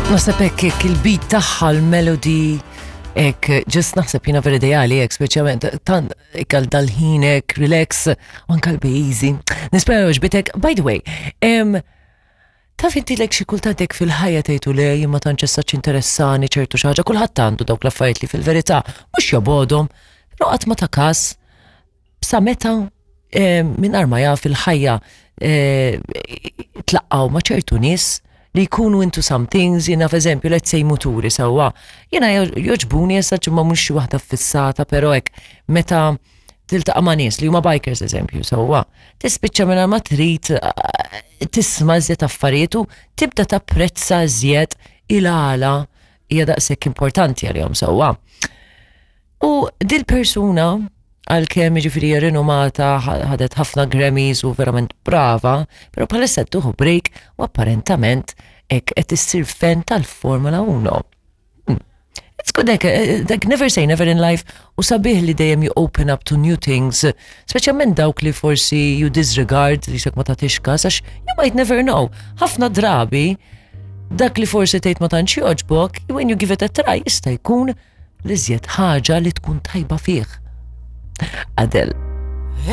Naħseb hekk hekk il-beat tagħha l-melody hekk just naħseb jiena vera ideali hekk speċjalment tant hekk għal dal-ħin hekk relax u anke l easy. Nispera għoġbitek. By the way, em, taf inti lek xi kultant hekk fil-ħajja tgħidu le jien ma tantx issa interessani ċertu xi ħaġa, kulħadd għandu dawk l-affarijiet li fil-verità mhux jobgħodhom, però qatt ma ta' każ sa meta eh, mingħajr ma jaf il-ħajja eh, tlaqqaw ma' ċertu nies li jkunu into some things, jiena f'eżempju, let's say muturi sewwa. Jiena joġbuni issa ma mhux xi waħda fissata, però hekk meta tiltaqa' ma' nies li huma bikers eżempju sewwa, tispiċċa mingħajr ma trid eh, tisma' iżjed affarijiet u tibda tapprezza iżjed il-għala hija daqshekk importanti għalihom sewwa. U dil-persuna, għalkemm jiġifieri hija rinomata, ħadet ħafna Grammys u verament brava, però bħalissa qed tieħu break u apparentament hekk qed issir fan tal-Formula 1. Hmm. It's good like, eh, like never say never in life u sabiħ li dejjem you open up to new things, speċjalment dawk li forsi you disregard li ma tagħtix każ għax you might never know. Ħafna drabi dak li forsi tgħid ma tantx jogħġbok, when you give it a try jista' jkun l-iżjed ħaġa li tkun tajba fih. Adele.